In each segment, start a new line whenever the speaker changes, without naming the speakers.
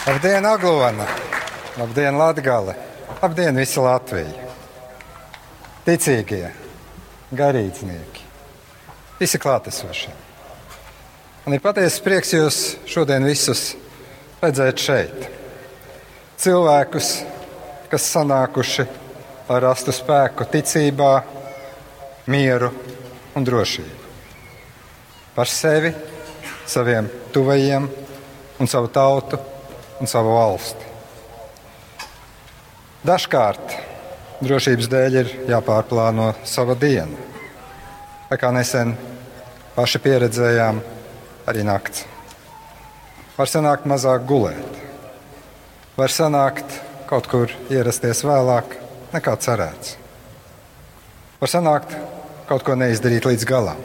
Labdien, Aglona! Labdien, Latgale! Labdien, visa Latvija! Ticīgie, garīdznieki, visi klātesošie. Man ir patiesas prieks jūs šodien visus redzēt šeit. Cilvēkus, kas sanākuši, lai rastu spēku ticībā, mieru un drošību. Par sevi, saviem tuvajiem un savu tautu un savu valsti. Dažkārt drošības dēļ ir jāpārplāno sava diena. Vai kā nesen paši pieredzējām, arī nakts. Var sanākt mazāk gulēt. Var sanākt kaut kur ierasties vēlāk nekā cerēts. Var sanākt kaut ko neizdarīt līdz galam.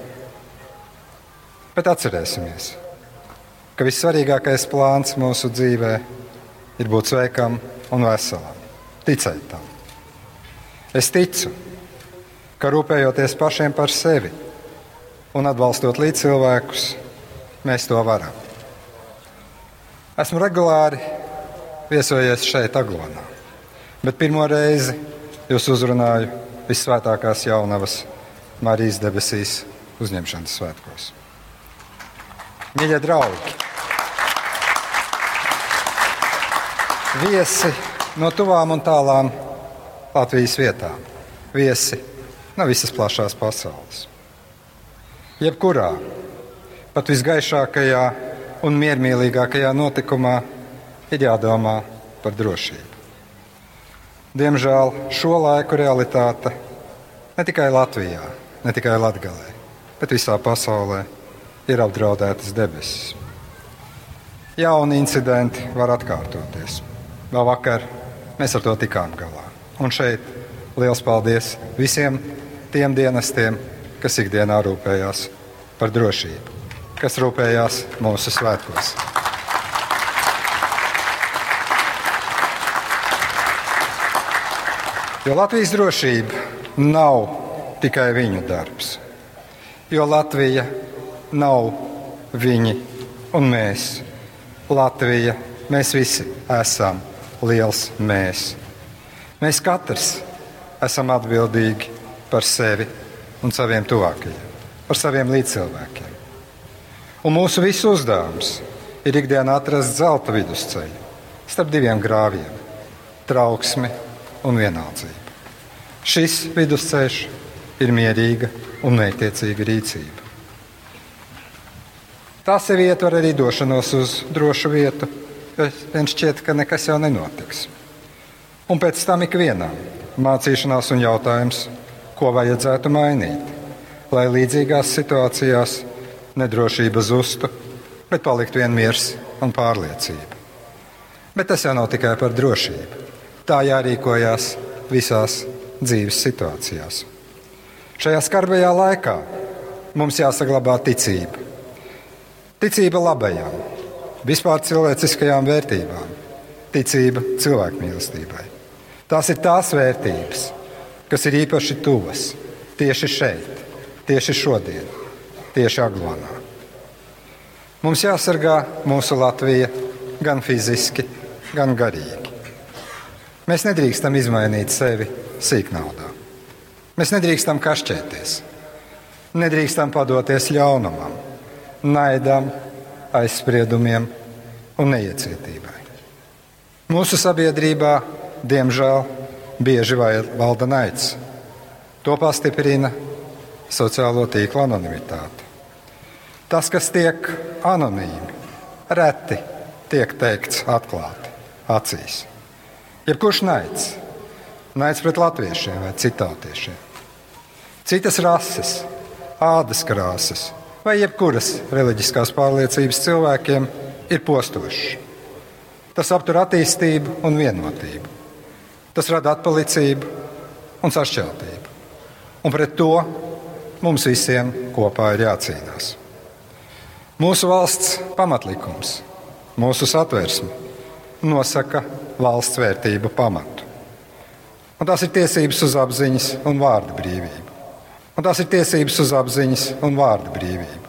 Bet atcerēsimies, ka vissvarīgākais plāns mūsu dzīvē ir būt sveikam un veselam, ticēt tam. Es ticu, ka rūpējoties pašiem par sevi un atbalstot līdzcilvēkus, mēs to varam. Esmu regulāri viesojies šeit, Aglonā, bet pirmo reizi jūs uzrunāju Vissvētākās Jaunavas Marijas debesīs uzņemšanas svētkos. Mīļie draugi, viesi no tuvām un tālām Latvijas vietām, viesi no visas plašās pasaules. Jebkurā, pat visgaišākajā un miermīlīgākajā notikumā ir jādomā par drošību. Diemžēl šo laiku realitāte ne tikai Latvijā, ne tikai Latgalē, bet visā pasaulē ir apdraudētas debesis. Jauni incidenti var atkārtoties. Vēl vakar mēs ar to tikām galā. Un šeit liels paldies visiem tiem dienestiem, kas ikdienā rūpējās par drošību, kas rūpējās mūsu svētkos. Jo Latvijas drošība nav tikai viņu darbs. Jo Latvija nav viņi un mēs. Latvija, mēs visi esam liels mēs. Mēs katrs esam atbildīgi par sevi un saviem tuvākajiem, par saviem līdzcilvēkiem. Un mūsu visu uzdevums ir ikdienā atrast zelta vidusceļu starp diviem grāvjiem - trauksmi un vienaldzību. Šis vidusceļš ir mierīga un mērķtiecīga rīcība. Tā sevi ietver arī došanos uz drošu vietu, jo vien šķiet, ka nekas jau nenotiks. Un pēc tam ikvienam mācīšanās un jautājums, ko vajadzētu mainīt, lai līdzīgās situācijās nedrošība zustu, bet paliktu vien miers un pārliecība. Bet tas jau nav tikai par drošību. Tā jārīkojās visās dzīves situācijās. Šajā skarbajā laikā mums jāsaglabā ticība. Ticība labajam, vispār cilvēciskajām vērtībām, ticība cilvēkmīlestībai. Tās ir tās vērtības, kas ir īpaši tuvas tieši šeit, tieši šodien, tieši Aglonā. Mums jāsargā mūsu Latvija gan fiziski, gan garīgi. Mēs nedrīkstam izmainīt sevi sīknaudā. Mēs nedrīkstam kašķēties, nedrīkstam padoties ļaunumam, naidam, aizspriedumiem un neiecietībai. Mūsu sabiedrībā, diemžēl, bieži valda naids. To pastiprina sociālo tīklu anonimitāte. Tas, kas tiek anonīmi, reti tiek teikts atklāti, acīs. Jebkurš naids, naids pret latviešiem vai citautiešiem, citas rases, ādas krāsas vai jebkuras reliģiskās pārliecības cilvēkiem ir postošs. Tas aptur attīstību un vienotību. Tas rada atpalicību un sašķeltību. Un pret to mums visiem kopā ir jācīnās. Mūsu valsts pamatlikums, mūsu satversme nosaka valsts vērtību pamatu. Un tās ir tiesības uz apziņas un vārda brīvību. Un tās ir tiesības uz apziņas un vārda brīvību.